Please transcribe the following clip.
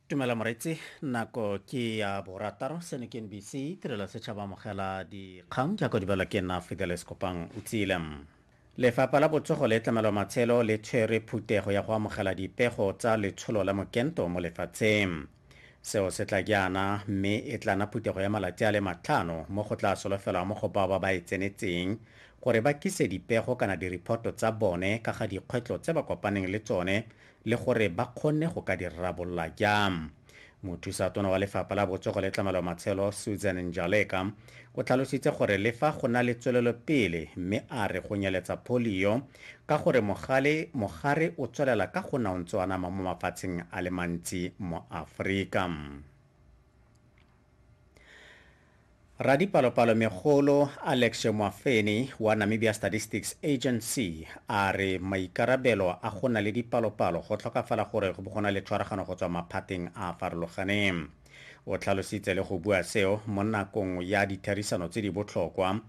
Tumela moretsi, nako ke ya borataro, seno ke NBC, tirelo setšhaba amogela dikgang jaaka di balwa ke nna Fidelis Kopang o tsile. Lefapha la Botsogo le Tlamelo Matshelo le tshwere phuthego ya go amogela dipego tsa letsholo la mokento mo lefatsheng. Seo se tla jaana mme e tla nna phuthego ya malatsi a le matlhano mo go tla solofelwang mo go bao ba ba e tsenetseng gore ba kise dipego kana diriphoto tsa bone ka ga dikgwetlho tse ba kopaneng le tsone le gore ba kgonne go ka di rarabolola jang. Mothusa tona wa lefapha la botsogo le tlamelo matshelo Susan Njaleka o tlhalositse gore le fa go na le tswelelopele mme a re go nyeletsa polio ka gore mogale mogare o tswelela ka go na o ntse o anama mo mafatsheng a le mantsi mo Aforika. Radipalopalo megolo Alex Mwafeni wa Namibia Statistics Agency a re maikarabelo a go na le dipalopalo go tlhokafala gore go bo go na le tshwaragano go tswa maphateng a a farologaneng. O tlhalositse le go bua seo mo nakong ya ditherisano tse di botlhokwa.